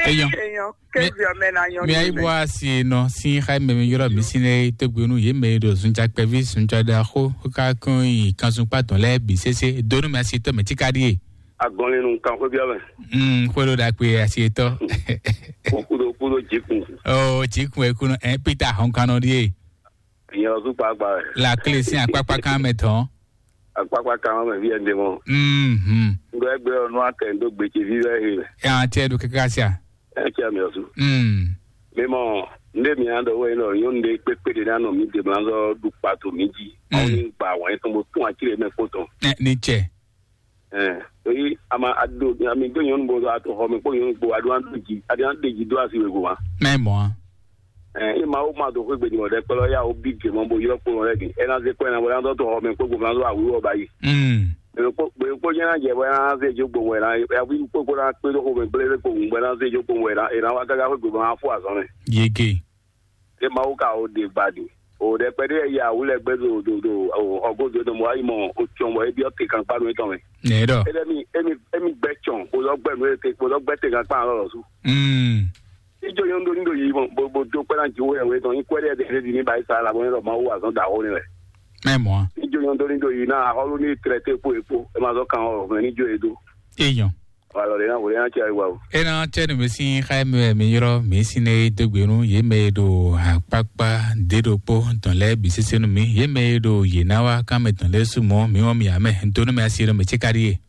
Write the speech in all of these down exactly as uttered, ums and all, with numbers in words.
Eyɔn. Eyɔn, kévi ɔmɛ na nyɔnu. Mi ayi bɔ asi nɔ sin xa mɛ mi yɔrɔ mi sin ne to gbenu ye mɛ ɖo zunja kpɛvi zunja da xo ka kɔn yi kanzun kpa tɔn lɛ bi sese donu mi asi tɔ mɛ tika die. Agɔnlinu kan xwé biɔ mɛ. Mm, xwé ɖo ɖa kpe asi tɔ. Kudo kudo jikun. Oh, jikun e kunɔ ɛ pita hɔn kanɔ die. Nyɛ ɔzu kpakpa wɛ. La kle sin akpakpa kan mɛ tɔn. Akpakpa kan mɛ vi ɛnde mɔ. Mhm. Ŋgɔ ɛgbɛ ɔnu akɛ ndo gbete vi wɛ he. Ya tiɛ do kaka sia. Ɛ tiɛ mi ɔzu. Mm. Mi mɔ nde mi an dɔ wɛ nɔ nyɔnu de kpekpe de na nɔ mi de blanzɔ du kpato mi ji. Mm. Awo ni gba wɛn tɔn bo tún ati de mɛ kpo tɔn. Ɛ ni cɛ. Ɛ, eyi ama ado ami do nyɔnu bo do ato xɔ mi kpo nyɔnu kpo adu an do ji adu an de ji do asi wego ma. Mɛ mɔ. Ɛ, e ma wo ma do xwe gbe ni wɔ dɛ kpɛlɛ ya wo bi de mɔ bo yɔ kpo lɛ di. E na ze kɔ na bo na do to xɔ mi kpo gbo na do awu wɔ ba yi. Mm. Be kpo be kpo nyɛ na jɛ bo na ze jo gbo wɛ na ya wi kpo kpo na kpe do xɔ mi gble be kpo gbo na ze jo gbo wɛ na e na wa gaga xwe gbo na fo azɔn mɛ. Yege. E ma wo ka o de gba di. O dɛ kpɛ de ya wu lɛ gbe do do do o ɔgo do do mo ayi mɔ o tsɔn bɔ e bi o te kan kpa do etɔn mɛ. Nɛ dɔ. E dɛ mi e mi e mi gbɛ tsɔn bo dɔ gbɛ nu e te bo dɔ gbɛ te kan kpa lɔ lɔ su. Mm. Ijo nyɔnu ɖo ní ɖo yi mɔ bo bo do kpɛ́ ná jiwó yɛwé tɔn nyí kwɛ́ɖɛ́ ɖe ɖe ɖi ní ba yi sa la bɔ ní ɖɔ Mawu wa zɔn da xó ní wɛ. Mɛ mɔ. Ijo nyɔnu ɖo ní ɖo yi ná axɔ́lú ní trɛté kpó e kpó e ma zɔ kan ɔ mɛ ní jó e dó. Eyɔn. Wala ɖe ná wòlé ná tsi ayi wa o. Ena tsɛ nu mi sin xa mi wɛ mi yrɔ mi sin ne do gbe nu ye mɛ ɖo akpakpa de ɖo kpó dɔn lɛ bi sese nu mi ye mɛ ɖo ye na wa kan mɛ dɔn lɛ su mɔ mi wɔ mi amɛ do nu mɛ asi ɖo mɛ tsi ka ɖi ye.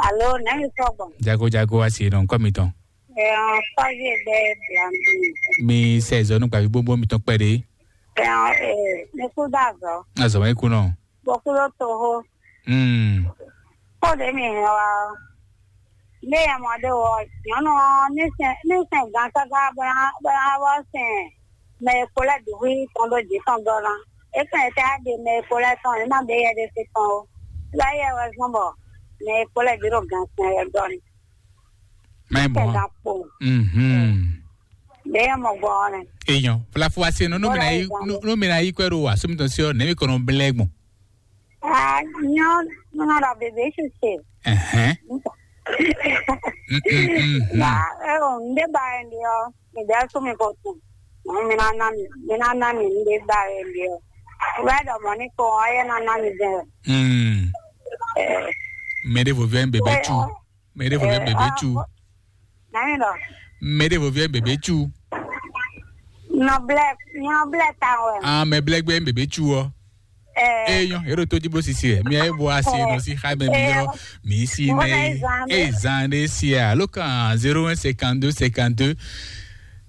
Alo nɛ mi sɔgbɔ. Jago jago asi ɖo nkɔ mi tɔn. Ẹ̀hàn Fáyẹ̀gbẹ́ Blambi. Mi sɛ zɔnu gbavi gbogbo mi tɔn kpɛ ɖe. Ẹ̀hàn ẹ̀ ní kú dàzọ́. Azɔ wɛ kú nɔ. Bɔkúló toho. Hmm. Kóde mi hɛn wa ɔ. Ní ẹ̀ mọ̀ dé wọ nyɔnu ɔ ní sɛn ní sɛn gan káká bóyá bóyá wɔ sɛn mɛ e kpo lɛ dǔ hwí tɔn ɖó jǐ tɔn gɔ́ ná. É kàn é tá ɖe mɛ e kpo lɛ tɔn é má ɖe yɛ ɖé sí tɔn ó. Láyé wɛ zɔn bɔ mɛ e kpo lɛ dǐ ɖo gan sɛn wɛ gɔ́ ni. Mɛ mɔ. Kɛga kpo. Mhm. Bɛɛ mɔ gbɔ ne. Eyan, flafu ase no no mina yi no no mina yi kwɛ ro wa so mi tɔn si ɔ ne mi kɔnɔ blɛ gbɔn. Ah, nyo no no la bebe sise. Ɛhɛn. Mm, mm, mm, mm. Na e o nde ba en dio. Mi da so mi ko tu. Mi na na mi, mi na na mi nde ba en dio. Wa do mo ni ko o ye na na mi de. Mm. Eh. Mɛ ɖevo vɛ bebe tu. Mɛ ɖevo vɛ bebe tu. Nani dɔ? Mɛ ɖevo vɛ bebe tu. Nɔ blɛ, nɔ blɛ ta wɛ. Ah, mɛ blɛ gbɛ bebe tu ɔ. Eh. Eyɔn, ero to diblo sisi ɛ. Mi ayi bo asi no si xa mɛ mi yɔ. Mi si ne. E zan de si ɛ. Alo kan zéro un cinquante-deux cinquante-deux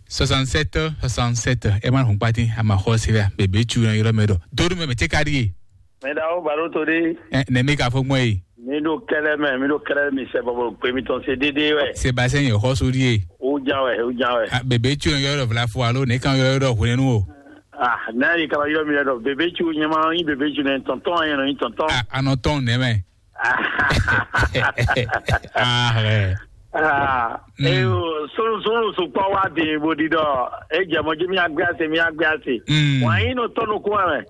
soixante-sept soixante-sept. Ɛ ma hun kpati, a ma xɔ si la. Bebe tu na yɔrɔ mɛ dɔ. Dodo mɛ mɛ tse ka di ye. Mɛ da o baro to de. Ɛ, ne mi ka fɔ gbɔn ye. Mi ɖo kɛlɛ mɛ, mi ɖo kɛlɛ mi sɛ bɔbɔ gbe mi tɔn se dédé wɛ. Sébastien yɛ xɔ sórí ye. O jan wɛ, o jan wɛ. Ah, bebe tso yɔ yɔ vla fo alo ne kan yɔ yɔ hwenu o. Ah, n'a yi kaba yɔ mi lɛ dɔ bebe tso nyɛma yi bebe tso ne tɔntɔn yɛ nɔ yi tɔntɔn. Ah, anɔ tɔn ne mɛ. Ah, ɛ. Ah, Mm. Eyo sunu sunu sukpɔ wa de bo di dɔ e jɛ mɔ ji mi agbe ase mi agbe ase. Mm. Wa yi no tɔnu kuma mɛ.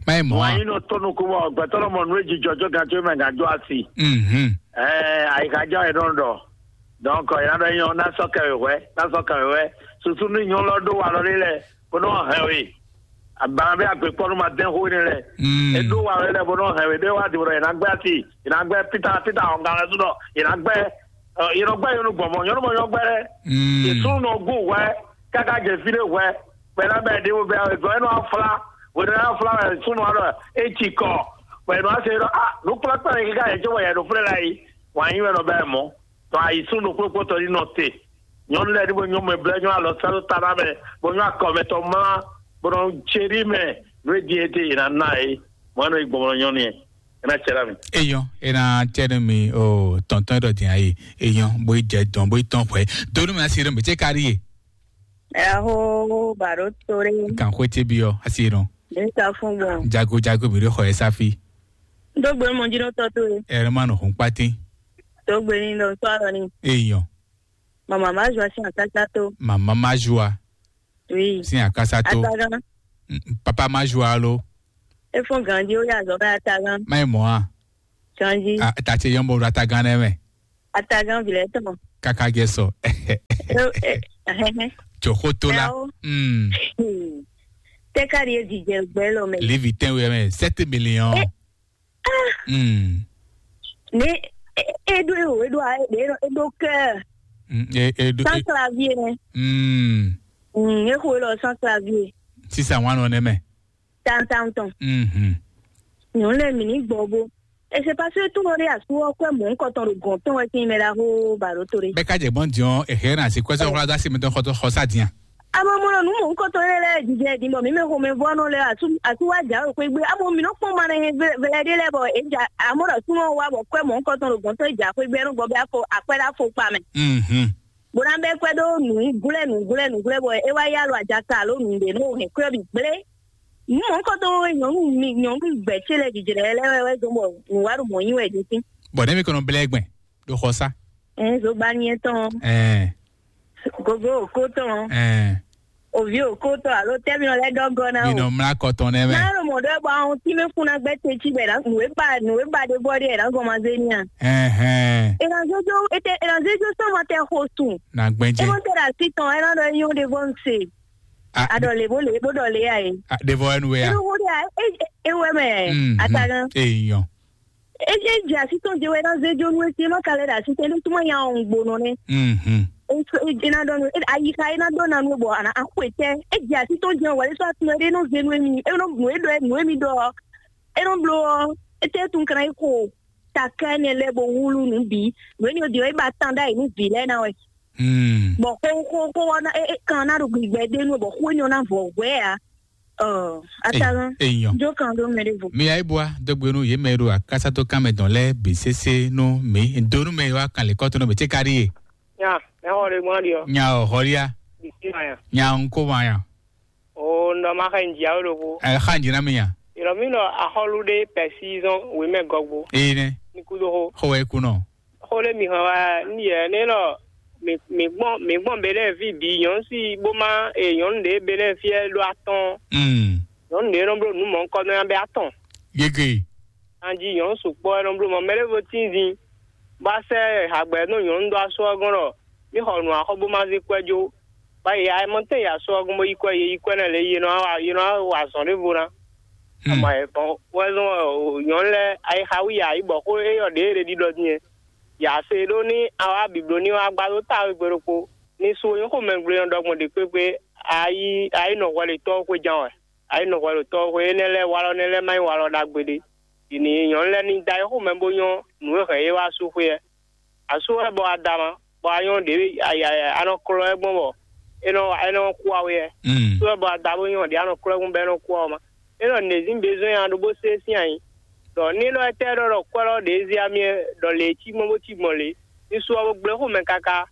Mayi mɔ. Wa yi no tɔnu kuma gbɛtɔ lɔ mɔ nu e ji jɔjɔ gan tso mɛ gan jɔ asi. Mhm. Ɛɛ, ayi ka jɔ e nɔ dɔ. Donc, e na dɔ nyɔ na sɔ kɛ wɛ, na sɔ kɛ wɛ. Susu ni nyɔ lɔ do wa lɔ de lɛ, ko nɔ hɛn we. Abana bɛ agbe kpɔnu ma dɛn xo ne lɛ. Mm. E do wa lɔ de lɛ, bo nɔ hɛn we de wa di bo dɔ e na gbɛ asi, e na gbɛ pita pita ɔnga lɛ su dɔ, e na gbɛ, ɛ, e nɔ gbɛ yɔnu gbɔn mɔ, yɔnu mɔ yɔ gbɛ lɛ. Mm. E sunu nɔ gu wɛ, kaka jɛ fi de wɛ, bɛ na bɛ de wo bɛ e zɔ e nɔ afla, wo de na afla wɛ sunu wa dɔ e tsi kɔ, bɛ e nɔ ase dɔ a, nu kpla kpla ne kika yɛ tso wɛ yɛ do flɛ la yi, wa nyi wɛ nɔ bɛ mɔ. Tɔ ayi sún ɖokpókpó tɔ ɖi nɔ te. Nyɔnu lɛ ɖi bo nyɔ mɛ blɛ nyɔ alɔ sá ɖo ta ná mɛ, bo nyɔ akɔ mɛ tɔ mlá, bo nɔ tse ɖi mɛ, nú e din e te yě ná ná é. Mɔ nɔ yi gbɔmɔ nyɔnu yɛ, é ná tsɛ ɖa mi. Eyɔn, é ná tsɛ ɖe mi o tɔntɔn ɖɔ din ayi. Eyɔn, bo yi jɛ dɔn, bo yi tɔn xwɛ. Donu mi asi ɖe mi tse ka ɖi ye. Ɛho baro tore. Kan xwe tse bi ɔ, asi ɖɔ. Ɖe sa fún gbɔn. Jago jago mi ɖe xɔ yɛ safi. Dogbe mo dzi ɖo tɔ to ye. Ɛrɛ ma nɔ hun kpatin. Dogbe ni ɖo sɔ alɔ ni. Eyɔn. Mama ma zua sin akasa to. Mama ma zua. Oui. Sin akasa to. Atagan. Mm, papa ma zua lo. E fún ganji o ya zɔ bɛ atagan. Ma yi mɔ a. Ganji. A ta ce yɔn bo ɖo atagan nɛ mɛ. Atagan bi lɛ tɔn. Kaka jɛ sɔ. E, e, Ahɛhɛ. Jɔxótó la. Yawo. Hmm. Hmm. Tɛ ka ɖi e jijɛ gbɛ lɔ mɛ. Lévi tɛnwe mɛ sept millions. Eh. Hmm. Ne e e ɖo e o e ɖo a e ɖo e ɖo kɛ. Hmm. E e ɖo. Sans clavier nɛ. Hmm. Hmm. E xo e lɔ sans clavier. Sisan wan nɔ nɛ mɛ. Tantan tɔn. Mhm. Nyɔnu lɛ mi ní gbɔ bo. E se pase tún ɖe asu ɔ́ kwɛ mɔ̌ kɔtɔn ɖo gɔ̌n tɔn wɛ sín mɛ ɖaxó ba ɖo to ɖe. Bɛ ka jɛ gbɔn diɔn e hɛn na si kwɛsɛ wla da si mi tɔn xɔtɔ xɔsa dian. Amɔ mo nɔ nu mɔ̌ kɔtɔn lɛ lɛ jijɛ din bɔ mi mɛ xomɛ vɔ nɔ lɛ asu asu wa ja o xwegbe amɔ mi nɔ kpɔn ma nɛ vɛlɛ ɖe lɛ bɔ e ja amɔ ɖɔ sunɔ wa bɔ kwɛ mɔ̌ kɔtɔn ɖo gɔ̌n tɔn e ja xwegbe nɔ gbɔ bɛ afɔ akwɛ ɖe afɔ kpa mɛ. Mhm. Bó ná bɛ kwɛ ɖó nǔglɛ́ nǔglɛ́ nǔglɛ́ bɔ é wá yá lɔ ajaka alo nǔɖé nú hɛn kwɛ́ bǐ gblé. Nǔ mɔ̌ kɔ dó nyɔ̌nu mi nyɔ̌nu gbɛ̌ ce lɛ́ɛ jijlɛ lɛ́ɛ wɛ wɛ dó bɔ nǔ wá ɖo mɔ̌ nyi wɛ ɖo sí. Bɔ nɛ́ mi kɔnɔ blɛ́ gbɛn ɖo xɔ sá. Ɛ zogbaniyɛ tɔn, Ɛɛ. Gogo òkó tɔn, Ɛɛ. Òví òkó tɔn alo tɛ́ mi nɔ lɛ́ dɔ́ gɔ́ ná Mi o. Nɔ mlá kɔ tɔn nɛ́ mɛ. Má ɖo mɔ̌ ɖɔ bɔ ahɔn tí mɛ fún ná gbɛ́ te cí bɔ nǔ e ba nǔ e ba ɖe bɔ ɖe ɛ ná gɔn ma zé ní a. Ɛhɛn. È nà zé jó ètè è nà zé jó sɔ́ ma tɛ xo sùn. Na gbɛn É jɛ. Mɔ tɛ ɖo así tɔn ɛ ná ɖɔ é nyɔ́ ɖe vɔ ń se. A Aɖɔ lě bó lě bó ɖɔ lě a e. A ɖe vɔ ɛnu wɛ a. Inú wo ɖe a e e wɛ mɛ. Mhm. Atagan. Èèyàn. E e jɛ así tɔn jẹ wɛ ná zé jó nú etí ẹ má ka lɛ ɖo así tɛ ní túmọ̀ nya ɔ̀hún gbónú nɛ. Mhm. E e ná ɖɔ nú e ayi ka e ná ɖɔ ná nú bɔ àná axɔ etɛ. E jɛ así tɔn jẹ wɛ é sɔ atúmọ̀ ɖé nɔ zé nú emi e nɔ nú e ɖɔ nú emi ɖɔ ɔ. E nɔ bló ɔ. Etɛ tún kan yi ko. Takɛ nɛ lɛ bo wúlú nǔ bǐ. Nǔ énɛ́ ɔ́ din ɔ́, é ba tán ɖ'ayǐ nú vǐ lɛ́ɛ ná wɛ. Hmm. Bɔ xó xó xó ɔ́ ná é é kan ná ɖo gbigbɛ ɖé nú ɔ, bɔ xó énɛ́ ɔ́ ná vɔ hwɛ̌ ǎ. Ɔ atalán. Èèyàn. Jó kan ɖó mɛ ɖé vo. Mi ayé bua dɔgbe nú yě mɛ e ɖo akásátó kan mɛ dɔn lɛ́ɛ bǐ sésé nú mi. Donu mɛ e wá kan lě kɔ́tɔ́ nú mi tí ka ɖíe. Nya, ẹ xɔ ɖe gbɔn ɖi ɔ. Nya ɔ xɔlia. Bisi ma nya. Nya ŋkó ma nya. O nɔ ma xɛ nji awo ɖokpo. Ɛ xa nji na mi nya. Yɔrɔ mi nɔ axɔlu ɖe pɛsi zɔn wemɛ gɔgbo. Ee nɛ. Ní kúdó xó. Xɔ wɛ kú nɔ. Xó ɖé mi hàn wá ní yɛ ní nɔ mi mi gbɔn mi gbɔn bɛ lɛ fi bǐ nyɔnu si bó má e nyɔnu ɖe bɛ lɛ fiɛ ɖó atɔn. Mm. Nyɔnu ɖe nɔ bló nǔ mɔ̌ kɔ nɔ nya bɛ atɔn. Gege. Anji nyɔnu sukpɔ nɔ bló mɔ mɛ ɖé vo tínzin. Bá sɛ hagbɛ nɔ nyɔnu ɖó asɔ gɔn ɖɔ mí xɔ nǔ axɔ bó má zé kwɛ jó. Bá yi ayɛmɔtɛn yi asɔ ɔ́ gɔ́n bó yi kwɛ yě yi kwɛ nɛ́ lě yě nɔ wa yě nɔ wa azɔ̌ ɖěvo ná. Ama ɛ bɔn wɛ zɔn nyɔ̌nu lɛ́ɛ ayixa wí yě ayǐ bɔ xó éyɔ ɖě ɖe ɖiɖɔ din é. Yě ase ɖó ní awá bǐbló ní wá gbá dó táwe gbe ɖokpó. Ní sú nyɔ́ xó mɛgblé ɔ́ ɖɔgbɔn ɖě kpékpé ayí ayí nɔ hwɛlitɔ́ xwé ján wɛ. Ayí nɔ hwɛlitɔ́ xwé énɛ́ lɛ́ɛ walɔ nɛ́ lɛ́ɛ má nyí walɔ ɖagbe ɖé. Yě ní nyɔ̌nu lɛ́ɛ ní da ayixo mɛ bó nyɔ́ nǔ e hɛn yě wá sú xwé ɛ. Asú wɛ bɔ a da ma, bɔ a nyɔ́ ɖě a nɔ klɔ́ ɛ gbɔn bɔ é nɔ é nɔ kú awe ɛ. Mm. Asú wɛ bɔ a da bó nyɔ́ ɖě a nɔ klɔ́ ɛ gbɔn bɔ é nɔ kú awe ma. É nɔ nězín bezɔn nya ɖó bó sé sín ayǐ. Ɖɔ ní nɔ étɛ́ ɖɔ ɖɔ kwɛ́ lɔ ɖě zé amyɛ ɖɔ lě cí gbɔn bó cí gbɔn lě. Ní sú ɔ́ bó gblé xomɛ káká.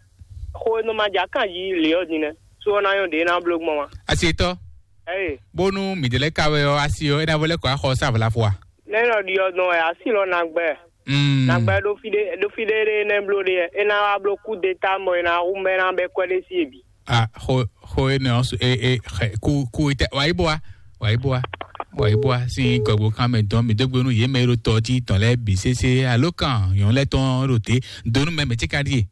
Xó e nɔ ma jǎ kan jí lě ɔ́ din nɛ́. Sú ɔ́ ná nyɔ́ ɖě ná bló gbɔn ma. Asitɔ. Eye. Bónú mǐdɛɛ lɛ́ɛ ka wɛ ɔ́, asi ɔ́, é ná vɔ lɛ́ kɔ axɔ sá vlafɔ a? Nɛ́ nɔ ɖi ɔ́ dɔn wɛ asi lɔ nagbɛ. Mm. Nagbɛ ɖo fí ɖé ɖo fí ɖé ɖé nɛ́ bló ɖe ɛ. É ná wá bló kú de ta mɔ é ná hu mɛ ná bɛ kwɛ́ ɖé sí ebi. A xo xo énɛ́ ɔ́ su e e xɛ ku ku itɛ wǎ yi bó wa wǎ yi bó wa wǎ yi bó wa sín gɔgbo kan mɛ dɔn mi dó gbe nú yě mɛ e ɖo tɔ jí tɔn lɛ́ɛ bǐ sésé alo kan nyɔ̌nu lɛ́ɛ tɔn ɖo te donu mɛ mɛ tí ka ɖíe.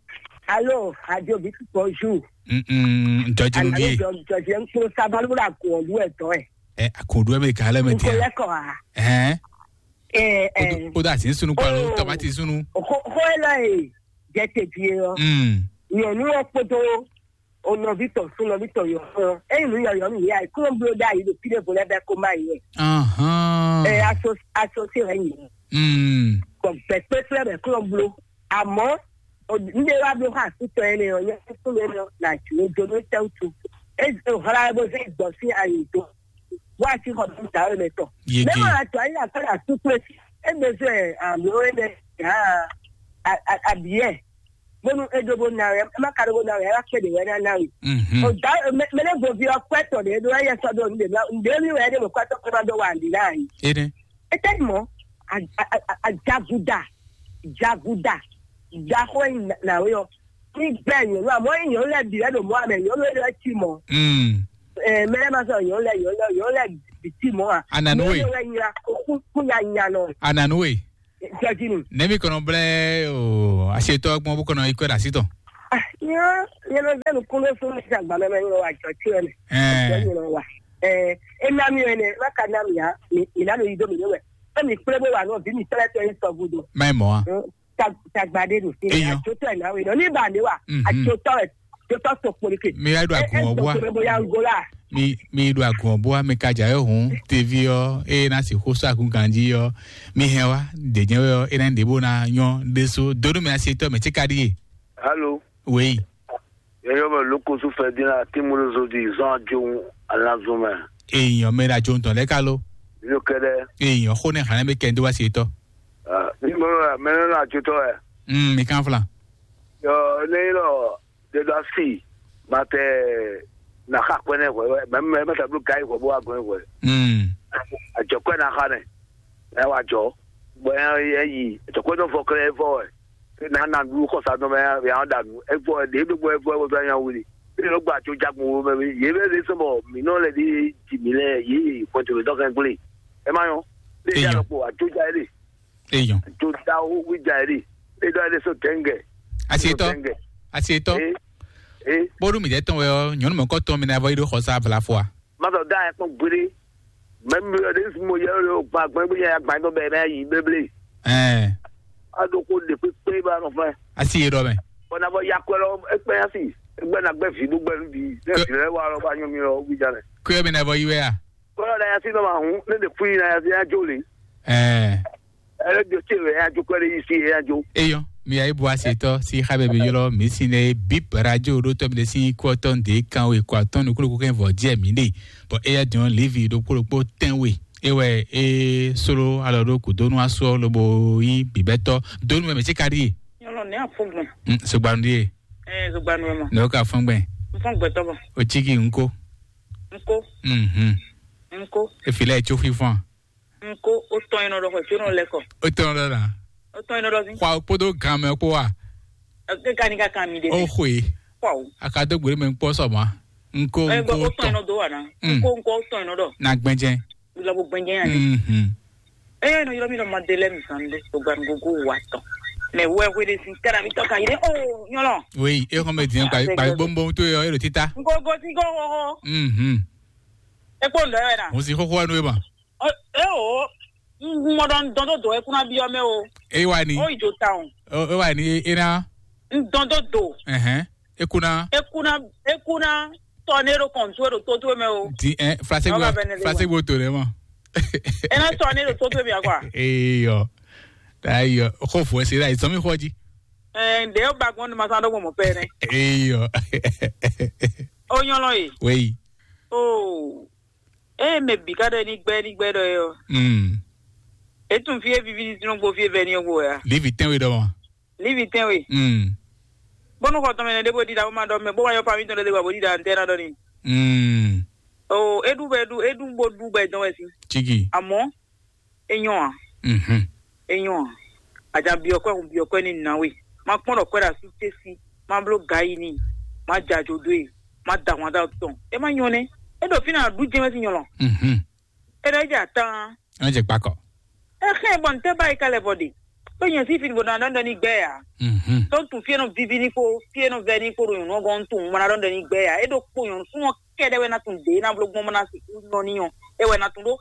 Alo, adio bi tutɔ ju. Mm, jɔji nu Alo ɖíe. Jɔ jɔ jɛ nkplo sabalu la kun ɔlu ɛ tɔ ɛ. Ɛ akɔɖu ɛ mɛ kan lɛ mɛ Nkɔ tia. Lɛ kɔ ha. Ɛhɛn. Ɛ ɛ. O da sin sunu kpa lo tomati sunu. Xo xo ɛ lɔ ye jɛ te die ɔ. Mm. Nyɔnu ɔ kpodo o nɔvi tɔ sun nɔvi tɔ yɔ fɔ. Eyi nu yɔ yɔ nu ya klo blo da yi do pide vo lɛ bɛ ko ma yi. Ahan. Ɛ aso aso se wɛ nyi. Mm. Kɔ gbɛ kpekpe bɛ klo blo. Amɔ n de wa blo ha sutɔ ene ɔ nyɛ sutɔ ene ɔ na ju o do no tɛ utu. E o hla bo se gbɔ si ayi do. Wa si xɔ dɔn ta ene tɔ. Yege. Mɛ ma to ayi a fɛ la sutɔ e si e be se alo ene ya a a a biɛ. Bonu e do bo na ya ma ka do bo na ya la kpe de wɛ na na wi. Mhm. O da mɛ ne bo vi ɔ kpɛ tɔ de do ya sɔ do n de na n de mi wɛ de mo kpɛ tɔ kpɛ ma do wa n di na yi. Ene. Etɛ́ mɔ̌? Ajaguda, jaguda, jaxó e nǎwe ɔ́, ní gbɛ́ nyɔ̌nu amɔ̌ nyí nyɔ̌nu lɛ́ɛ bǐ wɛ ɖo mɔ̌ amɛ nyɔ̌nu e ɖɔ cí mɔ̌. Mm. Mɛ lɛ́ɛ ma sɔ́ nyɔ̌nu lɛ́ɛ nyɔ̌nu lɛ́ɛ nyɔ̌nu lɛ́ɛ bǐ cí mɔ̌ a? Ananu e. Nyɔ̌nu lɛ́ɛ wɛ nyla kú kú nya nya nɔ. Ananu e. Jɔjinu. Nɛmi kɔnɔ blɛ o asetɔ gbɔn bó kɔnɔ ikɔ da sitɔ. Nyɔ, nyɛ nɔ vɛ nukún ɖé fún mi sísan gbà mɛ mɛ nyɔ wa jɔ tí wɛ mɛ. Jɔ Ɛɛ, nyɔ wa. Ɛ, e na mi wɛ nɛ, ma ka na mi ya, mi mi na mi yi do mi ne wɛ. E mi kple bo wa nɔ vi mi tɛlɛ tɛ yi sɔ gudo. Mɛ mɔ a. Tagba ɖe ɖo fi. Eyɔ. Atsotɔ ɛ na we nɔ ni ba ne wa. Mhm. Atsotɔ ɛ, atsotɔ to kpoli ke. Mi ya ɖo agun ɔbua. Bo ya gola. Mi mi ɖo agun ɔbua mi ka dza yɔ hun tevi ɔ eye na si xo sɔ agun ganji ɔ mi hɛn wa ɖe nyɛ wɛ ɔ ena ɖe bo na nyɔ ɖe so dodo mi asi tɔ mɛ tsi ka ɖi ye. Alo. Wei. Yɛyɔ mɛ lókosu fɛ dín la tí mo ló zo di zɔn ajo alanzun mɛ. Èèyàn mɛ ɖo ajo ntɔn lɛ ká ló. Yóò kɛ dɛ. Èèyàn xó ní hàn mí kẹ́ ń dó wá sí etɔ. Ní mo ló mɛ ní ló ajo tɔ ɛ. Mm, mi kan flan. Yɔ ní lɔ de dɔ si ma tɛ na xa kpɛ nɛ hwɛ mɛ mɛ mɛ ta blo gai hwɛ bó wa gɔn hwɛ. Mm. Ajɔ kpɛ na xa nɛ. Ɛ wa jɔ. Bɔ ɛ yi ajɔ kpɛ dɔ fɔ kɛ ɛ fɔ ɛ. Na na ɖu xɔsa dɔn mɛ ya ɔn ɖanu. Ɛ gbɔ ɛ ɖe ɖo gbɔ ɛ gbɔ ɛ gbɔ ɛ nya wuli. Ɛ lɔ gba ajo jagun wo mɛ yě bɛ ɖe sɔmɔ mǐ nɔ lɛ ɖe ji mǐ lɛ yě pɔtò dɔ kɛ gblé. Ɛ ma nyɔ. Ɖe ja lɔ kpo ajo ja ɛ ɖe. Eyɔn. Ajo da wo wi ja ɛ ɖe. Ɖe dɔ ɛ ɖe so tɛngɛ. Asi etɔ. Tɛngɛ. Asi etɔ. Ee. Ee. Bóɖú mi dɛ tɔn wɛ ɔ nyɔnu mɛ kɔ tɔn mi na vɔ yi ɖo xɔsa vlafɔ a. Mazɔ da ɛ kpɔn gbére. Mɛ mi ɔ ɖe mo yɛ ɔ gba gbɛn gbé yɛ gba dɔ bɛ mɛ yi bébélé. Ɛɛ. A ɖo ko ɖe kpékpé ba nɔ fɛ. Asi yé ɖɔ mɛ. Bɔn na bɔ yakɔ lɔ ekpɛ asi egbɛ na gbɛ vi bó gbɛ nu bi ne fi lɛ wa lɔ ba nyɔ mi lɔ wi ja lɛ. Kuyɔ mi na vɔ yi wɛ a. Kɔlɔ na yasi nɔ ma hun ne ɖe fui na yasi ya jo le. Ɛɛ. Ɛlɛ jo tse wɛ ya jo kɔ ɖe yi si ya jo. Eyɔn, mi ayi bu asetɔ si xa bɛ bi yɔlɔ mi si ne bip radio ɖo tɔ mi de si kɔ tɔ nde kan we kɔ atɔn nukulu kɛ vɔ jɛ mi de. Bɔn eya diɔn livi ɖokpo ɖokpo tɛn we. Ewɛ e solo alɔ ɖo kudonu asɔ lobo yi bibɛtɔ donu mɛ mɛ tsi ka ɖi ye. Nyɔlɔ ne afɔgbɔn. Mm, sogbanu ɖi ye. Ɛɛ, sogbanu ma. Ne o ka fɔn gbɛ. N fɔn gbɛtɔ bɔ. O tsi ki nko. Nko. Mhm. Nko. Efi lɛ tso fifɔn. Nko o tɔn yin nɔ ɖɔ xɔ tso nɔ lɛ kɔ. O tɔn ɖɔ na. O tɔn yin nɔ ɖɔ si. Xɔ kpodo gan mɛ kpo wa. Eke ka ni ka kan mi de. O xwe. Kɔ o. A ka do gbere mɛ kpɔ sɔ ma. Nko Ɛ nko gbɔ o tɔn yin tɔn. Nɔ do wa na. Mm. Nko nko o tɔn yin nɔ ɖɔ. Na gbɛnjɛ. Lɔ bo gbɛnjɛ yan de. Mhm. Ɛ nɔ yɔrɔ mi nɔ ma de lɛ mi san de. O gba nko go wa tɔn. Mɛ wɛ hwe de si kɛra mi tɔ ka yi de. O nyɔlɔ. Oui, e xɔn bɛ diɲɛ gba gba bɔnbɔn to yɔ e ɖo tita. Nko go si go ho ho. Mhm. E kpo ndɔ yɛ na. Mo si xɔxɔ nu e ma. Eo, mɔɖɔ dɔn dó dò ɛ kúná byɔ́ mɛ o. E wa ni. Ó yi jo ta o. O e wa ni e na. N dɔn dó dò. Ɛhɛn. E kuna. E kuna e kuna tɔ ne ɖo kɔntu e ɖo tó tó mɛ o. Di ɛ flase Ɔba gbɔ bɛ ne le flase wa. Gbɔ to ne ma. E na tɔ ne ɖo tó tó mɛ akwa. Eyɔ. Ayɔ. Xɔ fo ese la isɔmi xɔ ji. Ɛ ǹdɛ yóò ba gbɔn ní ma sá dó gbɔn mɔ pɛ nɛ. Eyɔ. O nyɔlɔ ye. Wei. O. Eye mɛ bǐ ka ɖɔ ní gbɛ́ ní gbɛ́ ɖɔ é ɔ́, Mm. É tunwun fí e víví ní sínú gbo fí e vɛ́ ní ɔ́ gbo wɛ a? Lívi tɛ́nwe ɖɔ mɔ. Lívi tɛ́nwe. Mm. Bónú xɔ tɔn mɛ nɛɖé bó ɖiɖa bó ma ɖɔ mɛ bó ma yɔ fami tɔn lɛ́ ɖé wá bó ɖiɖa ntɛ́ ná ɖɔ ní. Mm. O é ɖu bɔ é ɖu é ɖu bó ɖu bɔ é dɔn wɛ sín. Cígi. Àmọ́ é nyɔ́ ǎ. Mhm. É nyɔ́ ǎ. Àjà byɔ̌ kwɛ́ hun byɔ̌ kwɛ́ ní nǎ we. Ma kpɔ́n ɖɔ kwɛ́ ɖo asú cé sí. Ma bló ga yi n'i, ma jɛ ajo dó e, ma da ahwan dó awu tɔn. É má nyɔ́ nɛ́. É ɖo fínɛ́ ǎ, ɖú jɛ́n wɛ sín nyɔlɔ. Mhm. É ɖɔ é jɛ atán. É jɛ gbakɔ. É xɛ́n bɔ ntɛ́ ba yi ka lɛ vɔ ɖe. Tó nyɛ sí fini bɔ na ɖɔ ní gbɛ ya. Mhm. Tó tun fie nɔ vivi ní kpó, fie nɔ vɛ ní kpó ɖo nyɔ̌nu ɔ́ gɔ́n tun mɔ na ɖɔ ní gbɛ ya. É ɖo kpó nyɔ̌nu súnmọ́ kɛɖɛ wɛ na tun ɖě ná bló gbɔn mɔ na sixú nyɔ́ ní nyɔ́. É wɛ na tun ɖó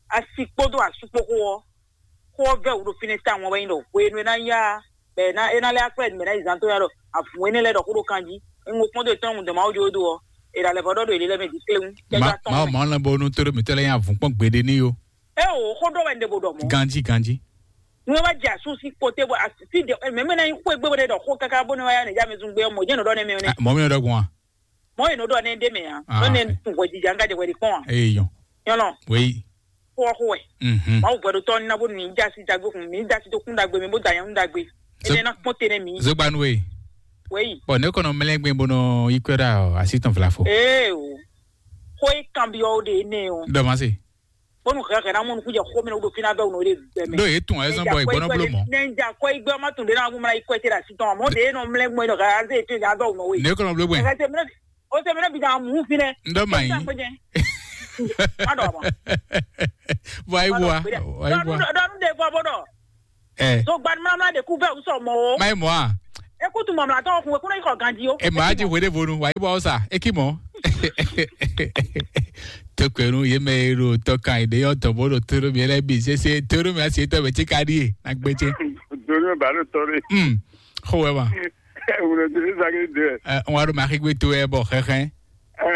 asi kpódó asú kpó xó ɔ́. Xó ɔ́ vɛ́ wǔ ɖo fínɛ́ tawun ɔ́ wɛ nyí ɖɔ hwenu e ná yá bɔ é ná é ná lɛ́ akwɛ́ mɛ ná yi zán tó yá ɖɔ avǔn énɛ́ lɛ́ɛ ɖɔ xó ɖo kan jí. É ŋo kpɔ́n dó etɔ́ ŋu dɔn Mawu jó dó ɔ, è ɖa lɛ vɔ ɖɔ ɖo èlé lɛ́ mɛ jí kléwún. Mawu mawu lɛ́ɛ bɔ nú tó ɖo mǐtɔn lɛ́ɛ nyi avǔn kpɔ́n gbeɖé ní yo. É o xó ɖɔ wɛ un ɖe bó ɖɔ mɔ̌. Ganjí ganjí. Nú é wá jɛ asú sí kpoté bɔ así de mɛ mɛ ná nyí xó e gbé bó ɖe ɖɔ xó káká bó ní wá yá nɛ já mi zún gbé ɔ́ mɔ̌ jẹ́ nǔ ɖɔ nɛ́ mɛ nɛ́. Mɔ̌ mi ɖɔ gbɔn a. Mɔ̌ e nǔ ɖɔ nɛ́ ɖé mɛ ǎ. Ah, nɔ nɛ ok. Tun hwɛ jija ŋgá jɛ hwɛ ɖi kpɔ́n a. Eyɔn. Nyɔlɔ. Wéyi. Xó ɔ́ xó wɛ. Mhm. Mawu hwɛɖotɔ́ ɔ́ ní ná bónú mǐ jɛ así dagbe kun mǐ jɛ así dó kún dagbe mɛ bó da nyɛ nú dagbe. Énɛ́ ná kpɔ́n te nɛ́ mǐ. Zogbanu we. Wɛyi. Bɔn ne kɔnɔ mlɛgbɛ bó nɔ yi kwɛ ɖa ɔ asi tɔn vlafo. Ee o. Xó e kanbyɔ wo ɖe énɛ́ o. Dɔ ma se. Bónú hɛhɛ ná mɔ nukún jɛ xó mɛ nɔ ɖo fínɛ́ bɛ wò nɔ ɖe gbɛ mɛ. Ɖo ye tun ayé sɔn bɔ ìgbɔnɔ blo mɔ. Nɛ n ja kɔ igbe ɔmɔ tun ɖe na ŋun mla yi kɔ ɛtɛ ɖe asi tɔn mɔ ɖe nɔ mlɛgbɛ nɔ hɛ azɛ ètò ìyá bɛ wò nɔ we. Ne kɔnɔ blo gbɛ. Ɛhɛ tɛ mìíràn O sɛ mìíràn bi na mu fi nɛ. Ndɔ ma yi. Má dɔ ma. Wa yi bua. Wa yi bua. Dɔnu de bɔ bɔ dɔ. Ɛ. So gbanimlamla de kú fɛ usɔ mɔ o. Ma yi mɔ a. Écoute, mon mlatɔ, on écoute, il faut grandir. E ma ji hwe ɖe vonu, wa yi bɔ sa, e ki mɔ. Tokpenu ye mɛ e ɖo tɔkan yi ɖe yɔ tɔ bo ɖo to ɖo mi lɛ bi sese to ɖo mi asi tɔ bɛ ti ka ɖi ye na gbɛ tse. Donu ba ɖo tɔ ɖe. Hmm. Xo wɛ ma. Wuro donu zage de. Ɛ, ŋwa ɖo ma xigbe to wɛ bɔ xɛxɛ. Ɛ,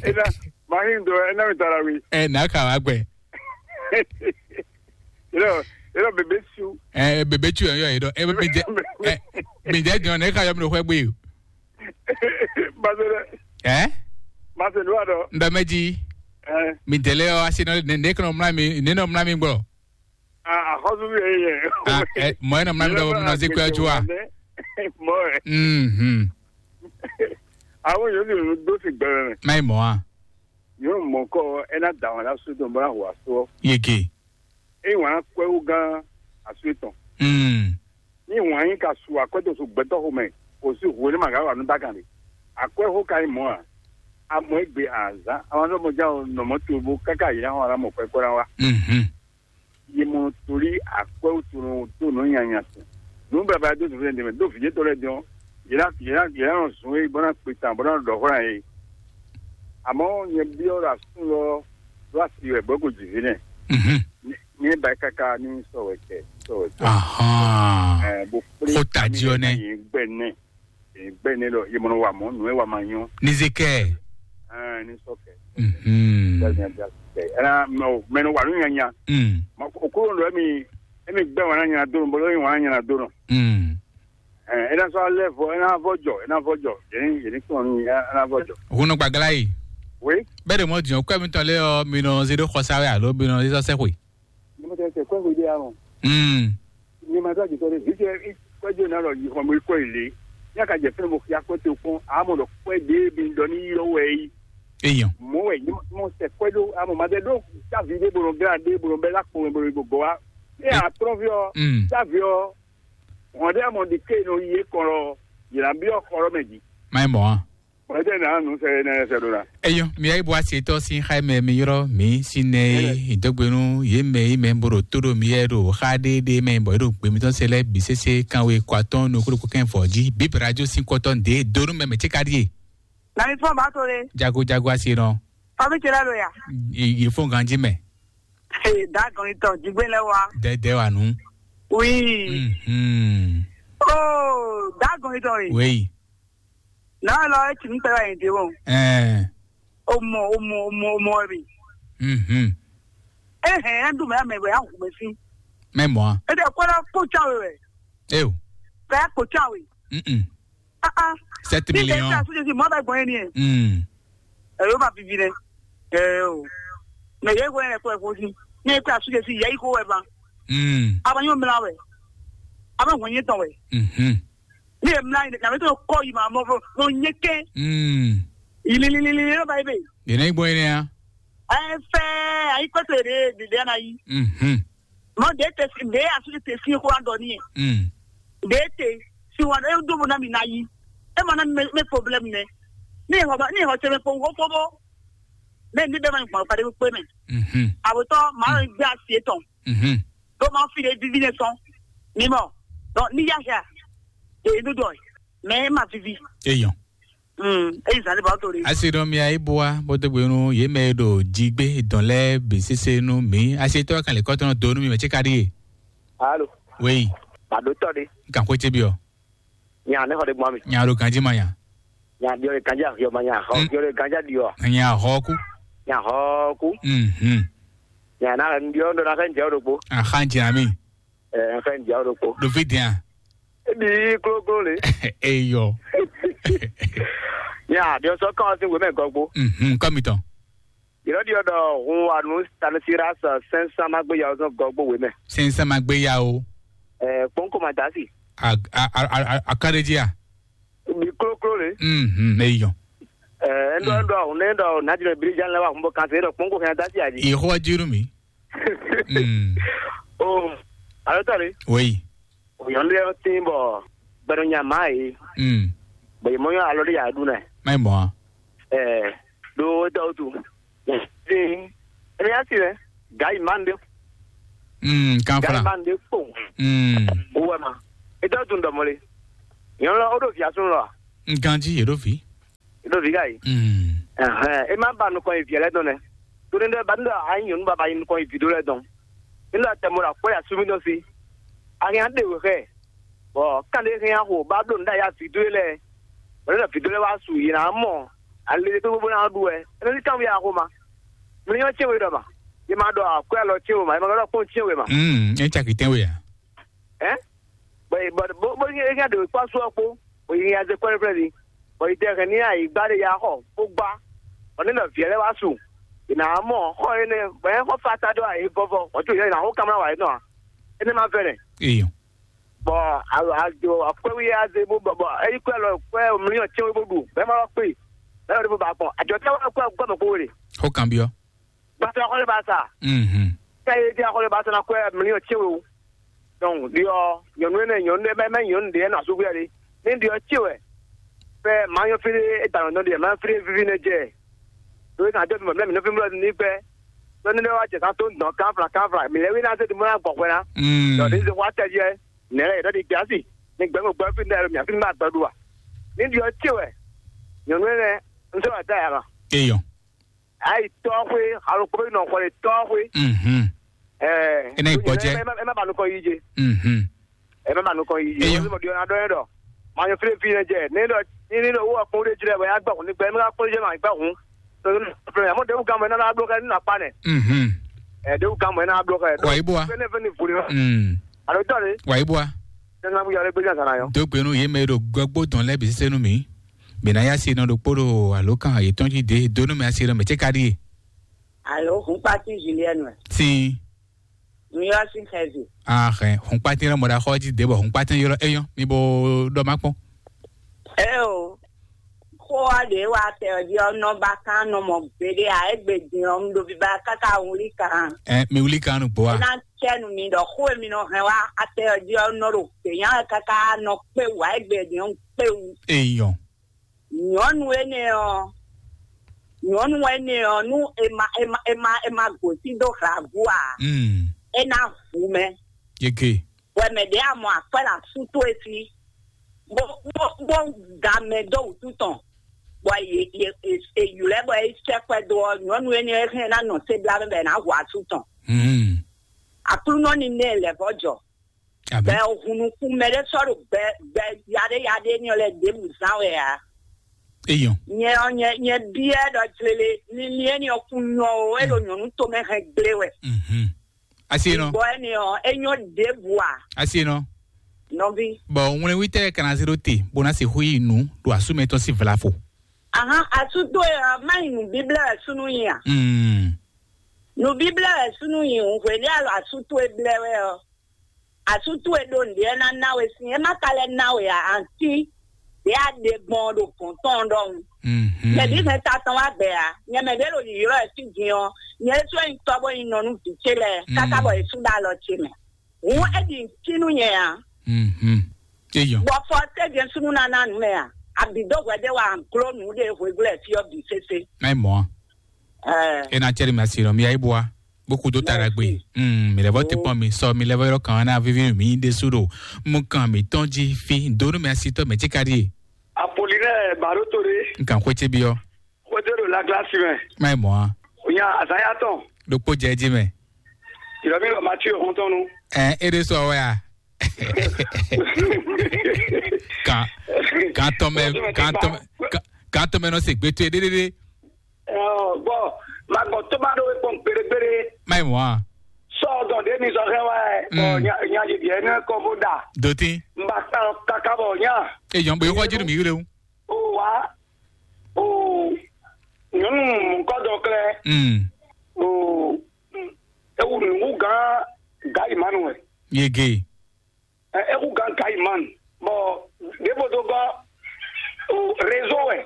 ena, ma hin do, ena mi tara wi. Ɛ, na ka wa gbɛ. Ena, ena bebe su. Ɛ, bebe tu yɔ yɔ yi dɔ. Ɛ, mi jɛ, ɛ, mi jɛ jɔn ne ka yɔ mi ɖo xwɛ gbe o. Masere. Ɛ? Masere wa dɔ. N bɛ mɛ ji. Ɛ. Mi dɛlɛ ɔ asi nɔ ne ne kɔnɔ mla mi ne nɔ mla mi gbɔ. A, axɔsu mi yɛ yɛ. A, ɛ, mɔ e nɔ mla mi dɔ mi nɔ zi kpɛ ju wa. Mɔ ɛ. Mhm. Awo yóò di nu dó si gbɛmɛ mɛ. Má yi mɔ a. Yóò mɔ kɔ ɛ ná da wọn lásù tó bọ́lá hùwà só. Yege. Eye wǎn kwɛ́wúgán asú etɔn. Mm. Ní wǎn yí ka su akwɛ́ dó su gbɛtɔ́ xomɛ kò sí hwenu ma ka wa nú dákan ɖe. Akwɛ́ xó ka nyí mɔ̌ ǎ. Amɔ égbé azǎn amazɔ́mɔjá ɔ́ nɔ mɔ̌ tobo káká yě ná xɔ ná mɔ kwɛ́ kó ná wá. Mhm. Yě mɔ tolí akwɛ́ wútu nɔ dó nǔ nyanya tɔn. Nǔ baba dó zǐnflɛ́n ɖě mɛ dó vǐ yětɔn lɛ́ɛ din ɔ́, yě ná yě ná yě ná nɔ zun é bó ná kpe tan bó ná ɖɔ xó ná yě. Àmọ́ nyɛ byɔ́ ɖo asú lɔ ɖó asi wɛ bɔ é ko jǐ ví nɛ. Mhm. Nyɛ ba káká ní sɔ wɛ kɛ sɔ wɛ kɛ. Ahán. Ɛ bó kplé Xó tají ɔ́ nɛ́. Yě gbɛ nɛ yě gbɛ nɛ lɔ yě mɔ wa mɔ nù é wa ma nyɔ. Ní zé kɛ. Ɛ ní sɔ kɛ. Mhm. Ɛna mɛ o mɛ nɔ wa nù nyanya. Mm. Okolo lɔ mi emi gbɛ wa na nyana do nɔ bolo emi wa na nyana do nɔ. Mm. Ɛ ena sɔ alɛ vɔ ena vɔ jɔ ena vɔ jɔ yɛn yɛn kpɔn ni ena vɔ jɔ. Hun nɔ gbagla yi. Oui. Bɛɛ de mɔ diɲɔ kɔ mi tɔn lé ɔ mi nɔ zé ɖó xɔsa wɛ alo mi nɔ zé sɔ sɛ xwe. Ni mo tɛ sɛ kɔ xwe de ya mɔ. Mm. Ni ma tɔ jitɔ de vi tɛ kɔ jo na lɔ yi xɔ mo kɔ yi le. Ya ka jɛ fɛn mo xia kɔ te kpɔn a mɔ lɔ kɔ de bi dɔ ni yɔ wɛ yi. Eyan. Mo wɛ ni mo sɛ kɔ do a mɔ ma de do ta vi de bolo gra de bolo bɛ la kpɔn bolo go go wa. E a trɔ vi ɔ. Mm. Ta vi ɔ. Hɔn ɖé mɔ ɖi ké nɔ yi é kɔn lɔ yě ná byɔ́ xɔ lɔ mɛ jí. Má nyí mɔ̌ ǎ. Bɔn é tɛ́ ná nǔ sɛ énɛ́ sɛ ɖó ná. Eyɔn, mi yá yi bɔ asi tɔ́ sín xá mɛ mi ylɔ́ mǐ sín nɛ é dó gbe nú yě mɛ yi mɛ bó ɖo tó ɖo mi yɛ ɖo xá ɖéɖé mɛ bɔ é ɖo gbe mitɔn se lɛ́ɛ bǐ sésé kanwe kɔ atɔ́ɔ́n nukúnnú kɛn fɔ jí bǐ radio sín kɔtɔ́ ɖě dó nú mɛ mɛ tí ka ɖíe. Na mi fɔ́n bá tó le. Jago jago asi nɔ. Fami ce lɛ lo ya. Yě fɔ́n ganjí mɛ. Ee, da gɔn itɔ jigbe lɛ wa. Dɛdɛ wa nu. Oui. Mhm. Oh, da gɔn itɔ ye. Wei. Na lɔ e tsi nu tɛ wa yin de wo. Ɛɛ. O mɔ o mɔ o mɔ o mɔ bi. Mhm. E hɛn an dun mɛ mɛ wɛ an hu mɛ si. Mɛ mɔ a. E de kɔ la kpo tsa we wɛ. Eyo. Kɛ kpo tsa we. Mhm. Ah ah. Sept millions. Ni de sa su de si mɔ bɛ gbɔn ye ni ye. Mm. Ɛ yóò máa vivi nɛ. Ɛ o. Mɛ yɛ gbɔn yɛ kɔ ɛ fɔ si. Ní ẹ kó asu jɛ si yɛ yi kó wɛ ba. Mm. A ma nyɔ mla wɛ. A ma hɔn nyɛ tɔn wɛ. Mhm. Ní ẹ mla yi ní kàwé tó kɔ yi ma mɔ fɔ mɔ nyɛ kɛ. Mm. Yìlì lìlì lìlì ló ba yi bɛ. Yìlì gbɔn yìí ya. Ɛ fɛ ayi kpɛtɛ de de de ana yi. Mhm. Mɔ de te si de asu de te si ko an dɔ ni yɛ. Mm. De te si wa e do bo na mi na yi. E ma na mi me problème ne. Ni hɔ ba ni hɔ se me ko wo ko bo. Bẹ́ẹ̀ ni bẹ́ẹ̀ máa ń gbọ̀n pàdé pé mẹ́. Mhm. Àwòtọ́ màá ń gbé àṣì tán. Mhm. Ló máa ń fi lè vivi lè tán. Mímọ́. Donc, ní yáyà. Èyí ló dọ̀. Mais ẹ máa vivi. Èèyàn. Mm. Èyí sáré bá tó rí. Asi ɖɔ mia yi bua bó dó gbe nú yě mɛ e ɖo jí gbé dɔn lɛ́ɛ bǐ sésé nú mǐ. Asi tɔ́ kan lè kɔ́ tɔn dó nú mi mɛ tí ka ɖíe. Alo. Wéyi. Màdó tɔ ɖé. N kàn xwé cébi ɔ. Nya ne xɔ ɖe gbɔn mi. Nya ɖo ganji ma nya. Nya diɔ ɖe ganji ahiɔ ma nya xɔ. Mm. Diɔ ɖe ganji adiɔ. Nya xɔ ku. Nya xɔ ku. Mhm. Nya na ŋdi ɔ ndo na xɛ nje ɖo kpo. Axa nje ami. Ɛ xɛ nje ɖo kpo. Ɖo fi dia. Ebi kloklo le. Eyɔ. Nya diɔ sɔ kan si wemɛ gɔgbo. Mhm, kɔmi tɔn. Yɔrɔ ɖi ɔdɔ hun wa nu Stanislas sɛnsan ma gbe yawo sɔn gɔgbo we mɛ. Sɛnsan ma gbe yawo. Ɛ kpɔnkɔ ma dasi. A a a a a kaɖeji a. Mi kloklo le. Mhm, eyɔ. Ɛ ndɔ ndɔ ne ndɔ nadinɛ birijan la wa hun bɔ kan se dɔ kpɔnkɔ kan dasi aji. Yehowa jiru mi. Mm. O alo tɔ le. Oui. Òyàn lé ɔ́ tín bɔ gbɛɖɔ nya má yě. Mm. Bɔ yě mɔ nyɔ́ alɔ ɖé yà ɖu nɛ. Má yi mɔ a. Ɛɛ ɖo étɔ wútu. Ɛn ɛn yá si lɛ. Gǎ yi má ń ɖe. Mm, kan gǎ yi fla. Má ń ɖe kpɔn. Mm. Owó ɛ ma. Étɔ wútu ń dɔmɔ le. Nyɔ̌nu lɔ, ó ɖo vǐ asúnú lɔ a? Un ganjí yě ɖo vǐ. É ɖo vǐ ka yi? Mm. Ɛhɛn, é má ba nukɔn yi vǐ lɛ́ɛ dɔn nɛ́. Tó ní ɖɔ ba ní ɖɔ a nyí nyɔ̌nu baba yi nukɔn yi vǐ ɖó lɛ́ɛ dɔn. Ní ɖɔ tɛmɔ ɖo akwɛ́ ya súnmí dɔn sí. A hɛn ɖe wě xɛ. Bɔ kán ɖé hɛn axo ba bló nǔ ɖo aya vǐ dó e lɛ́ɛ. Bɔ ní ɖɔ vǐ dó lɛ́ɛ wá su yě ná mɔ. Ale tó gbogbo ná ɖu wɛ. É nɔ ní kán wí axo ma. Mi nyɔ́ cɛ́n we ɖɔ ma. Yě ma ɖɔ akwɛ́ alɔ cɛ́n we ma. Yě ma ɖɔ kpɔ́n cɛ́n we ma. Mm, é caki tɛ́nwe a? Ɛ? Bɔ bɔ bɔ bɔ yɛ yɛ ɖe kpɔ sɔ kpo, bɔ yɛ yɛ ze kpɔ ɖe ni, bɔ yɛ tɛ hɛn ni ayi gba ɖe ya xɔ kpo gba, bɔ ne nɔ viɛ lɛ wa su, ina mɔ xɔ yɛ ne, bɔ yɛ xɔ fa ta ɖo ayi vɔvɔ, bɔ tu yɛ na xɔ kamera wa yɛ nɔ a, ene ma vɛ nɛ. Iyo. Bɔ a a jo akwɛ wi ya ze bo bɔ bɔ eyi kwɛ lɔ kwɛ mliyɔn tiɛ wi bo ɖu, bɛ ma lɔ kpe, bɛ lɔ de bo ba gbɔn, ajɔ tɛ wa kwɛ kwɛ mɛ ko wele. Xɔ kan biɔ. Gbasa xɔlé ba sa. Mhm. Kɛ ye dia xɔlé ba sa na kwɛ miliɔn tiɛ wo. Donc, diɔ, nyɔnu ne nyɔnu ne mɛ mɛ nyɔnu de na sugu ya de. Ni diɔ tiɛ wɛ. Fɛ ma nyɔ fili e da nɔ de, ma fili vivi ne jɛ. Do na de mo mɛ mi no fi mo ni gbɛ. Do ne wa jɛ sa to ndɔ kan fla kan fla. Mi le wi na se di mo na gbɔ kwɛ na. Mm. Donc, ni se wa tɛ jɛ. Ne le do di gasi. Ni gbɛ mo gbɛ fi ne mi fi ma gbɛ du wa. Ni diɔ tiɛ wɛ. Nyɔnu ne n se wa ta ya ma. Eyɔn. Ayi tɔxwe, alokpo bɛ nɔ xɔ le tɔxwe. Mhm. Ɛɛ. Ena yi gbɔjɛ. Ɛ ma ba nukɔ yi je. Mhm. Ɛ ma ba nukɔ yi je. Eyɔn. Wọ́n ti mọ̀ di ɔ̀nà dɔn yẹn dɔ. Ma nyɔ fili fi ne jɛ. Ne dɔ ni ni dɔ wo kpɔn de jrɛ bɔ ya gbɛ kun ni gbɛ mi ka kpɔn de jrɛ ma gbɛ kun. Tɔtɔ ni fɛn ya mo de wu gan mɔ ena na blo kɛ ni na kpa nɛ. Mhm. Ɛ de wu gan mɔ ena blo kɛ. Wa yi bɔ wa. Fɛn ne fɛn ni vuli ma. Mm. Alo tɔ de. Wa yi bɔ wa. Tɛnɛ na bu yɔ le gbɛdza zan na yɔ. Dogbe nu ye mɛ ɖo gbɛgbó dɔn lɛ bi sise nu mi. Mina ya si nɔ ɖokpó ɖo alo kan yětɔn jí de donu mɛ asi ɖɔ mɛ ce ka ɖie. Alo, hunkpati Julienne wɛ. Sin. Mi yɔ si xɛzi. Ah, xɛ hunkpati lɔ mɔ ɖa xɔ jí de bɔ hunkpati yɔrɔ eyɔn mi bo ɖɔ ma kpɔn. Eo, xó wa ɖe wa tɛ ɔdi ɔnɔ ba kan nɔ mɔ gbede a egbe din ɔ, mi ɖo biba kaka wuli kan. Ɛ mi wuli kan nu gbɔ wa. Ena cɛnu mi ɖɔ xó e mi nɔ hɛn wa atɛ ɔdi ɔnɔ ɖo gbenya kaka nɔ kpe wa egbe din ɔ kpe wu. Eyɔn. Nyɔnu énɛ́ ɔ́, nyɔnu énɛ́ ɔ́, nú è ma è ma è ma è ma gǒsín dó hlagu ǎ, Mm. É ná hu mɛ. Yeke. Wɛ mɛ ɖě a mɔ akwɛ́ ɖo asú towe sí, bó bó bó da mɛ dó wǔtu tɔn, bɔ yě yě yě ylɔ́ bɔ é sɛ́ kwɛ́ dó ɔ́, nyɔnu énɛ́ ɔ́ hɛn ná nɔ sé blá mɛ bɔ è nǎ hu asú tɔn. Mm. Aklúnɔ ní mɛ lɛ̌ vɔ́ jɔ. Bɛ o hun nukún mɛ ɖé sɔ́ ɖo gbɛ gbɛ yaɖé yaɖé ní ɔ́ lɛ́ɛ ɖěbǔ zán wɛ ǎ. Eyɔn. Nyɛ ɔ́, nyɛ nyɛ byɔ́ ɖɔ jlele linlin éní ɔ́ kún nyɔ o, é ɖo nyɔ̌nu tomɛ hɛn gblé wɛ. Mhm. Asi nɔ. Bɔ éní ɔ́, é nyɔ ɖěbǔ ǎ. Asi nɔ. Nɔví. Bɔn ŋwlɛnwítɛ́ kana se ɖó te bó ná se xú yi nǔ ɖo asú mɛ tɔn sín vlafo. Ahan, asú towe ɔ́, má yi nǔ bíblɛ́ wɛ súnú nyi a? Mm. Nǔ bíblɛ́ wɛ súnú nyi hǔn hwě ní alɔ asú towe blɛ́ wɛ ɔ́. Asú towe ɖo nǔɖé ná ná we sín, é má ka lɛ́ ná we ǎ, anti ɖě a ɖe gbɔn ɔ́ ɖo gɔ̌n tɔn ɔ́ ɖɔhun. Mhm. Mɛ bǐ hɛn ta tɔn wá bɛ̌ ǎ. Nyɛ mɛ ɖě ɖo yǐylɔ́ wɛ fí din ɔ́, nyɛ ɖésú wɛ nyí tɔ́ bó nyí nɔ nú vǐ ce lɛ́ɛ, káká Mm. bɔ yě sú ɖo alɔ ce mɛ. Hǔn é ɖi nǔ cí nú nyɛ ǎ. Mhm. Eyɔn. Bɔ fɔ tɛ́ jɛ́n súnnu ná ná nǔ mɛ a? Abǐ dó hwɛ ɖé wa gló nǔ ɖé hweglɛ́ fí ɔ́ bǐ sésé. Má yi mɔ̌ a? Ɛɛ. É ná cɛ́ ɖi mɛ asi nɔ, mi yá yi bua. Bó kú dó ta ɖagbe. Mm, mi lɛ vɔ ti kpɔn mi sɔ mi lɛ vɔ yɔrɔ kan na vivi mi ɖe su ɖo. Mu kan mi tɔn ji fi do nu mi asi tɔ mɛ ci ka ɖi. Apolinɛ Baroto ɖe. N kan xwé ce bi ɔ. Xwédó ɖo Laglas mɛ. Má yi mɔ̌ a? Onya azanya tɔn. Ɖokpó jɛ jí mɛ. Ìrọ̀mí lọ Matthew Hontonu. Ɛ é ɖé sɔ wɛ a? Kan kan tɔmɛ kan tɔmɛ kan- kan tɔmɛ nɔ se gbɛtɔ yɛ ɖéɖéɖé. Bɔn ma gbɔ tó bá ɖó wé kpɔn gbérégbéré. Má yi mɔ̌ a? Sɔ dɔn ɖé mi sɔ hɛn wá ɛ. Bɔn Mm. Nya nya yɛ biɛ ne kɔ bó da. Dòtín. N ba kpɛn kaka bɔ nya. Eyɔn bɔ yóò kɔjú mi wúlé o. O wa o nyɔnu mɔkɔ dɔ klɛ. Mm. O ewu nugu gan ga imanu ɛ. Yege. Ɛ ewu gan ga imanu. Bɔn ɖebo do gɔ o réseau ɛ.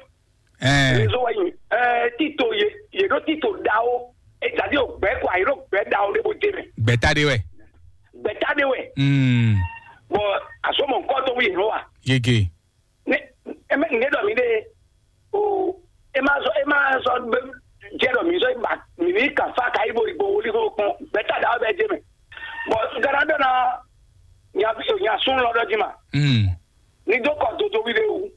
Ɛɛ. Réseau ɛ yin ɛ tito ye ye ɖo tito dawo. Etadi o gbɛ kɔ ayi ɖo gbɛ dawo ɖebo de mɛ. Gbɛta de wɛ. Gbɛta de wɛ. Mm. Bɔn asɔmɔ nkɔ to wi yɛ wa. Yege. Ne e ma ne dɔ mi de o e ma sɔ e ma sɔ be jɛ dɔ mi sɔ ba mi ni ka fa ka ibo ibo woli ko kpɔn bɛ ta da bɛ je mɛ bɔn gara dɔ na nya nya sun lɔ dɔ ji ma. Mm. Ní dó kɔ dodo ví ɖé wú.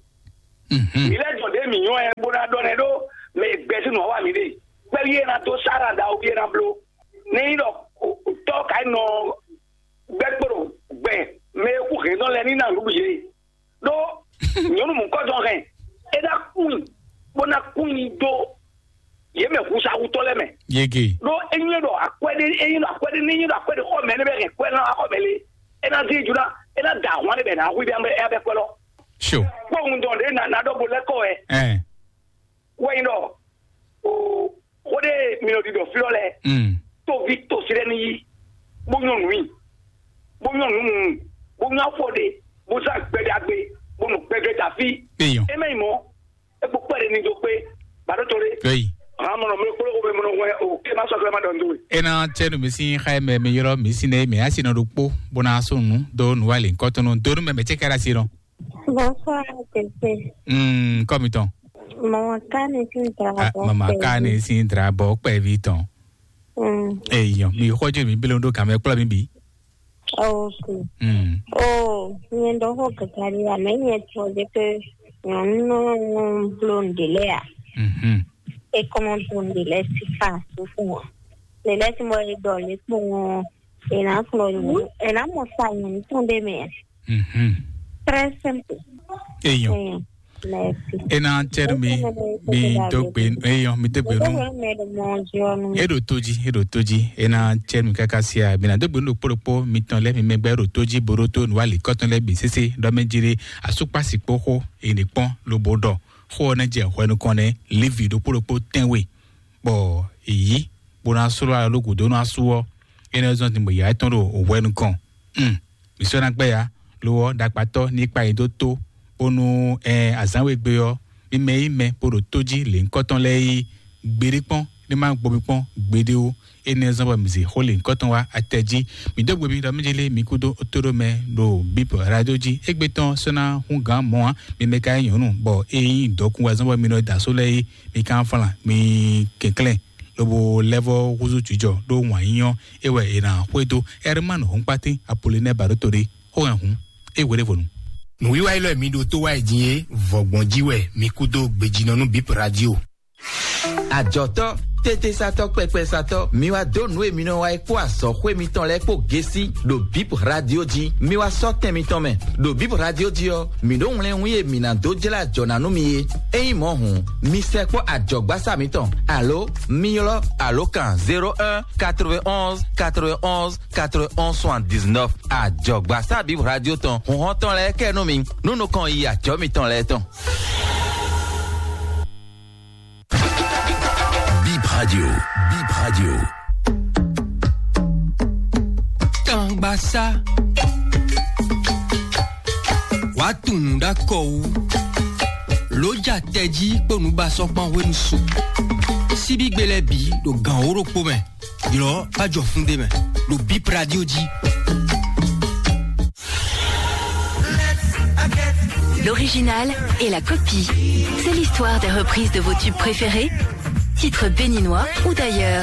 Mǐ lɛ́ dɔn ɖě mǐ nyɔ́ ɛ bó ná ɖɔ nɛ́ ɖó mɛ e gbɛ sín nǔ wa mǐ ɖe. Kpɛ́ví e ná dó sára ɖaxó ví e ná bló. Ní nyí ɖɔ tɔ́ ka nɔ gbɛ́ kpo ɖo gbɛ mɛ e kú hɛ̌nnɔ lɛ́ɛ ní ná nǔɖuɖu yě. Ɖó nyɔ̌nu mɔ̌kɔ́dɔn hɛn é ná kún i bó ná kún i dó yě mɛ húnsáhútɔ́ lɛ́ɛ mɛ. Yege. Ɖó é nyí ɖɔ akwɛ́ ɖé é nyí ɖɔ akwɛ́ ɖé ní nyí ɖɔ akwɛ́ ɖé xɔ mɛ ní bɛ hɛn kwɛ́ ná xɔ mɛ lé. É ná dín juna é ná da ahwan ɖé bɛ ná hu bɛ ɛ bɛ kwɛ́ lɔ. Sure. Kpɔ́hun dɔn ɖé ná ná ɖɔ bo lɛ́ kɔ wɛ. Ɛ. Wɛ nyí ɖɔ o xó ɖé mi nɔ ɖiɖɔ fí lɔ lɛ. Mm. Tóvi tosi ɖé ní yí bó nyɔ nǔ yí bó nyɔ nǔ mu bó nyɔ afɔ ɖé bó zán gbɛɖagbe bó nɔ gbɛgbɛ da fí. Eyɔn. É mɛ nyí mɔ é kpó kpɛɖé ní dó kpé bàdó tó ɖé. Eyi. Hàn mɔnɔ mi kpló xó mi mɔnɔ wɛ o ké má sɔ́ kí má ɖɔ nú we. Ena tse nu mi si xa mɛ mi yɔrɔ mi si ne mi asi nɔ ɖo kpo bona so nu do nu wali kɔtɔnu do nu mɛ mɛ tse kara si nɔ. Bonsoir, Tete. Mm, kɔmi tɔn. Mama Kane sin dra Ah, bɔ mama kpɛ Kane vi. Sin dra bɔ kpɛ vi tɔn. Mm. Eyɔn mi xɔjɔ mi belo do kame kplɔ mi bi. Ok. Mm. Oh, nyɛ ɖɔ xó kɛkɛ ɖi ame nyɛ tɔ ɖe ke nyɔnu nɔ bló ŋɖe lɛ ya. Mhm. E kɔmɔ to ŋɖe lɛ si fa sukun wa. Ŋɖe lɛ si mɔ e ɖɔ le kpɔn ɔ, e na kplɔ nyɔnu, e na mɔ sa nyɔnu tɔn ɖe mɛ. Mhm. Très simple. Eyɔn. Eyɔn. Merci. Ena tse nu mi mi do gbe eyɔn mi do gbe nu. Eɖo to dzi eɖo to dzi ena tse nu kaka sia mi na do gbe nu ɖokpó ɖokpó mi tɔn lɛ mi mɛgbɛ eɖo to dzi boɖo to nu ali kɔtɔn lɛ bi sese ɖɔ mɛ dzi ɖe asukpasi kpó xó ene kpɔn lobo ɖɔ xó ɔ́ nɛ jɛ hwɛ nukɔn nɛ livi ɖokpó ɖokpó tɛnwe bɔ èyí bó ná sló alɔ ló gǔdo nú asú ɔ́, énɛ́ zɔ́n din bɔ yǎ tɔn ɖo hwɛ nukɔn. Un, mǐ sɔ́ ná gbɛ́ ya, lo ɔ́, ɖakpatɔ́ ní kpa nyi dó tó, bónú ɛ azǎn we gbe ɔ́, mi mɛ yí mɛ bó ɖo tó jí lěhunkɔtɔn lɛ́ɛ yí gbeɖé kpɔ́n, ní má gbo mi kpɔ́n gbeɖé ó. Énɛ́ zɔ́n bɔ mǐ zě xó lěhunkɔtɔn wá atɛ jí. Mǐ dó gbe mi ɖɔ mí jélé mi kúdó tóɖó mɛ ɖo bíp radio jí. Égbé tɔn sɔ́ ná hún gǎn mɔ̌ ǎ, mi mɛ ka nyí nyɔ̌nu, bɔ é nyí dɔkun wɛ zɔ́n bɔ mi nɔ da só lɛ́ɛ yí, mi ka flan, mi kɛnklɛ́n. Lobo lɛ́ vɔ́ húzú jǐjɔ ɖó wǎn yíyɔ́ é wɛ è nǎ xwedó. Ɛrmán Hɔnkpátín Apolinɛ́ɛ Baɖóto ɖé, xó hɛn hǔn, é hwe ɖěvo nu. Nǔwiwa élɔ́ e mi ɖó tó wá yi din é, vɔ̌gbɔn jí wɛ mi kú dó gbejínɔ nú Bip Radio. Ajɔ̌tɔ́, tétésatɔ́, kpɛkpɛsatɔ́, mi wá dó nǔ e mi nɔ wa é kpó azɔ̌xwé mitɔn lɛ́ɛ kpó gésí ɖo Bip Radio jí. Mi wá sɔ́ tɛn mitɔn mɛ. Ɖo Bip Radio jí ɔ́, mǐ ɖó wlɛ́nwún e mǐ ná dó jlá ajɔ̌ ná nú mi é. Ényí mɔ̌ hǔn, mi sɛkpɔ́ ajɔ̌gbásá mǐtɔn, alo mi ylɔ́ alǒkan zéro un quatre-vingt-onze quatre-vingt-onze quatre-vingt-onze soixante-dix-neuf. Ajɔ̌gbásá Bip Radio tɔn, hǔnhɔ́n tɔn lɛ́ɛ kɛ nú mi, nú nukɔn yi ajɔ̌ mitɔn lɛ́ɛ tɔn. Bip Radio, Bip Radio. Tangbasá. Wàá tunwun ɖó akɔ wú. Lǒ ja tɛjí kpó nǔbasɔ́kpán hwenu su. Síbígbe lɛ́ɛ bǐ ɖo gǎn wó ɖokpó mɛ. Ylɔ̌ má jɔ fún ɖé mɛ. Ɖo Bip Radio jí. L'original et la copie. C'est l'histoire des reprises de vos tubes préférés, titres béninois ou d'ailleurs.